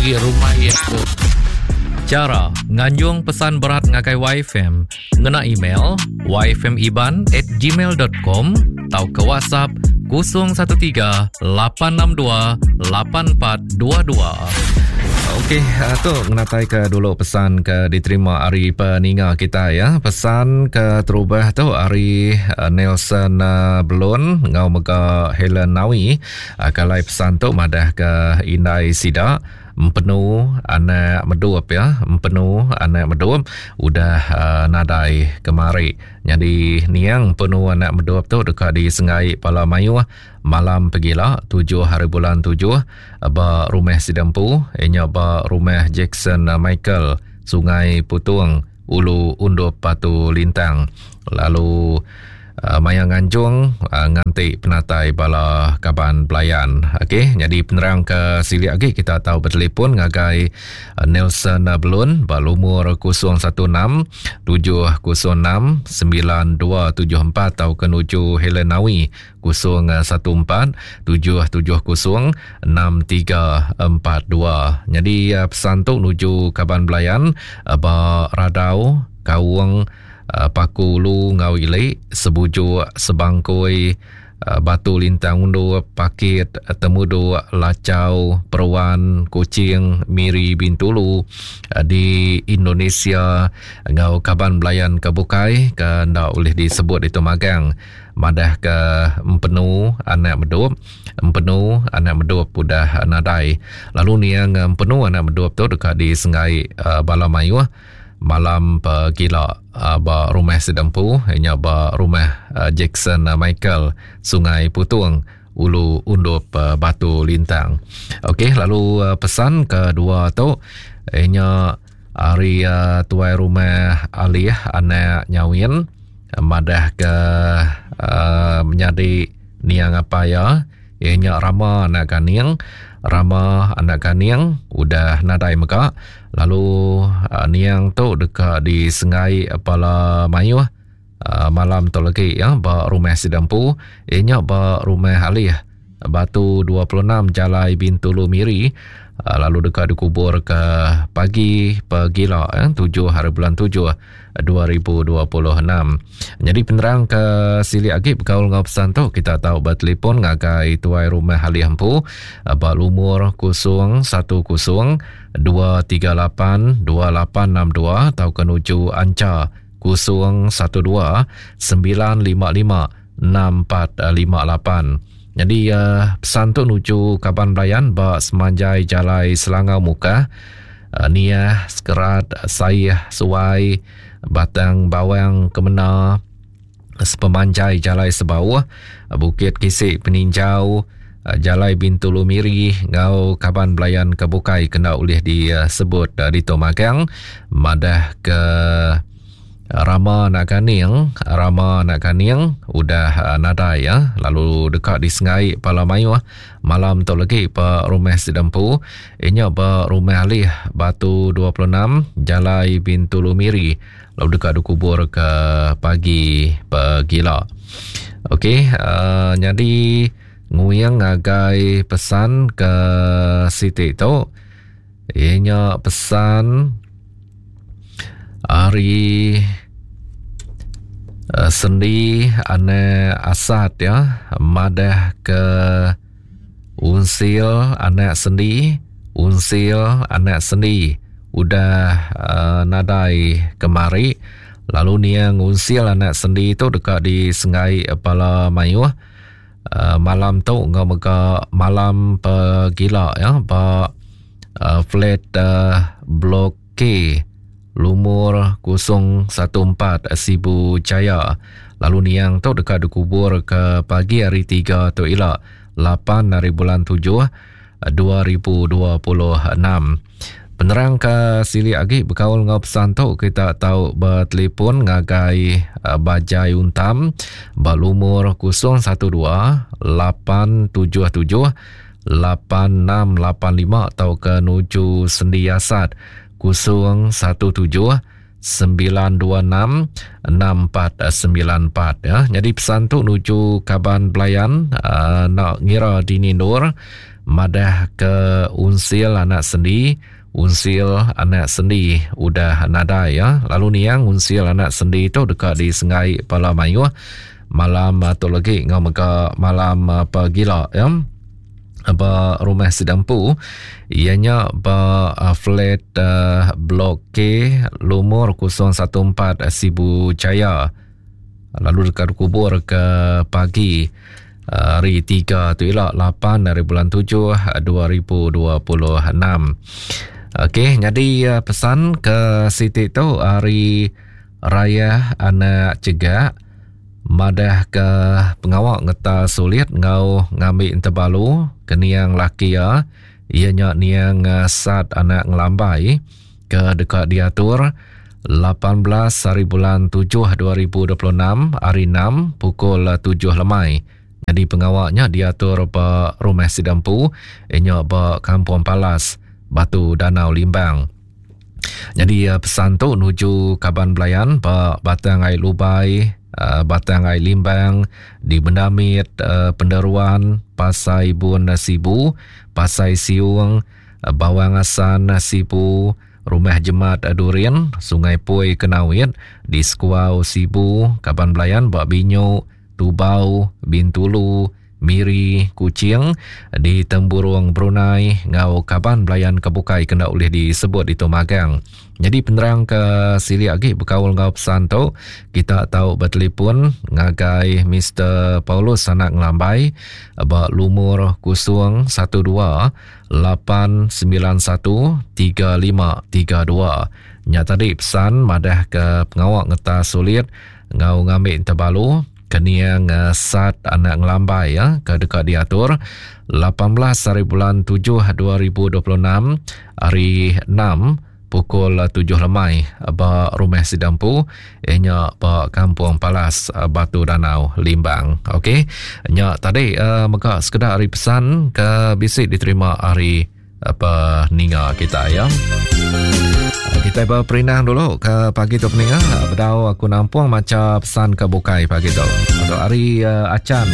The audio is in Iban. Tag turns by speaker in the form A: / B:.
A: Agi rumah iya tu.
B: Chara nganjung pesan berat ngagai YFM ngena email yfmiban at gmail dot com tauka WhatsApp 013 862 8422.
C: Okey, eh, tu ngenatai ke dulu pesan ke diterima ari peninga kita ya. Pesan ke terubah tu ari eh, Nelson eh, Belon ngau mega Helen Nawi. Kalai pesan tu madah ke indai sida empenu anak medup ya, empenu anak medup udah uh, nadai kemari. Nyadi niang empenu anak medup tu deka disenggai pala mayuh malam pegila 7 hari bulan 7 ba rumah sida empu inya ba rumah Jackson Michael Sungai Putung Ulu Undup Batu Lintang lalu uh, maya nganjung uh, nganti penatai bala kaban belayan. Okey, nyadi penerang ke silik agi kita tahu bertelefon ngagai uh, Nelson Belun ba lumur 016 706 9274 atau ke nuju Helen Nawi 014 770 6342. Nyadi eh, pesan tu nuju kaban belayan eh, ba Radau, Kaung, eh, Paku Ulu enggau Ili, Sebujuk, Sebangkoi, Batu Lintang Undup, Pakit, Temuduk, Lachau, Peruan, Kuching, Miri, Bintulu di Indonesia enggau kaban belayan ke bukai ke enda ulih disebut ditu magang. Madahka Empenu anak Medup, Empenu anak Medup udah nadai. Lalu niang Empenu anak Medup tu deka disenggai uh, bala mayuh malam pegila uh, ba rumah sida empu nya ba rumah uh, Jackson Michael Sungai Putung Ulu Undup uh, Batu Lintang. Okey lalu uh, pesan kedua tu nya ari uh, tuai rumah Alih anak Nyawin madah ke uh, menyadi niang apai iya iya nya Rama anak Ganing Rama anak Ganing udah nadai mega lalu uh, niang tu deka disengai bala mayuh uh, malam tu lagi ya ba rumah sida empu iya nya ba rumah Alih Batu 26 Jalai Bintulu Miri uh, lalu deka dikubur ke pagi pegila eh, 7 hari bulan 7 2026. Jadi penerang ke silik agi bekaul enggau pesan tu kita tau bertelefon ngagai tuai rumah Alih empu eh, ba lumur 010 238 2862 tauka nuju Ancha 012 955 6458. Nyadi uh, pesan tu nuju kaban belayan ba semanjai jalai Selangau Mukah, uh, Niah, Sekerat, Saih, Suai, Batang Bawang, Kemena, sepemanjai jalai Sebauh, Bukit Kisik Peninjau, Jalai Bintulu Miri enggau kaban belayan ke bukai kena ulih disebut ditu magang madah ke Rama anak Ganing, Rama anak Ganing udah nadai ya lalu deka disengai pala mayuh malam tu lagi ba rumah sida empu inya ba rumah Alih Batu 26 Jalai Bintulu Miri lalu deka dikubur ke pagi pegila. Okey uh, nyadi nguing ngagai pesan ke siti tu inya pesan Ari uh, sendi anak Asat ya madah ke unsil anak sendi unsil anak sendi udah uh, nadai kemari lalu niang unsil anak sendi tu deka disengai bala mayuh uh, malam tu enggau mega malam pegila ya ba uh, flat uh, blok K lumur 014 Sibu Jaya lalu niang tu deka dikubur ke pagi hari 3 tu ila 8 hari bulan 7 2026. Penerang ke silik agi bekaul enggau pesan tu kita tau bertelefon ngagai eh, Bajai Untam ba lumur 012 877 8685 tauka nuju Sendi Asat 017 926 6494 ya. Jadi pesan tu nuju kaban belayan uh, nak ngira dini endur. madah ke Unsil anak Sendi, Unsil anak Sendi udah nadai ya. Lalu niang Unsil anak Sendi tu deka disenggai pala mayuh malam tu lagi ngau mega malam pagila ya. Ba rumah sida empu iya nya ba flat blok K lumur 014 Sibu Jaya lalu deka dikubur ke pagi hari 3 tu ila 8 hari bulan 7 2026. Okey, nyadi pesan ke siti tu hari Raya anak Cegak madah ke pengawa ngeta sulit enggau ngambi entebalu ke niang laki iya, iya nya niang Sat anak Ngelambai ke deka diatur 18 hari bulan 7 2026 hari 6 pukul 7 lemai. Nyadi pengawa nya diatur ba rumah sida empu, iya nya ba Kampung Palas, Batu Danau Limbang. Nyadi pesan tu nuju kaban belayan ba Batang Ai Lubai, Batang Ai Limbang, di Bendamit, Penderuan, Pasai Bun Sibu, Pasai Siung, Bawang Asan Sibu, Rumah Jemat Durin, Sungai Pui Kenawit, di Sekuau Sibu, kaban belayan ba Binyu, Tubau, Bintulu, Miri, Kuching, di Temburong Brunei enggau kaban belayan ke bukai ke enda ulih disebut ditu magang. Nyadi penerang ke silik agi bekaul enggau pesan tu, kita tau betelefon ngagai Mister Paulus Anak Ngelambai ba lumur 012 891 3532. Nya tadi pesan madah ke pengawa ngetas sulit enggau ngambi entebalu Keniang Sat anak Ngelambai ya ke deka diatur 18 hari bulan 7 2026 hari 6 pukul 7 lemai ba rumah sida empu inya ba Kampung Palas Batu Danau Limbang. Okey, nya tadi uh, mega sekeda hari pesan ke bisi diterima hari apa ninga kita ya. Kita berperinang dulu ke pagi tu peninga. Bedau aku nampung maca pesan ke bukai pagi tu. Untuk hari uh, Acan.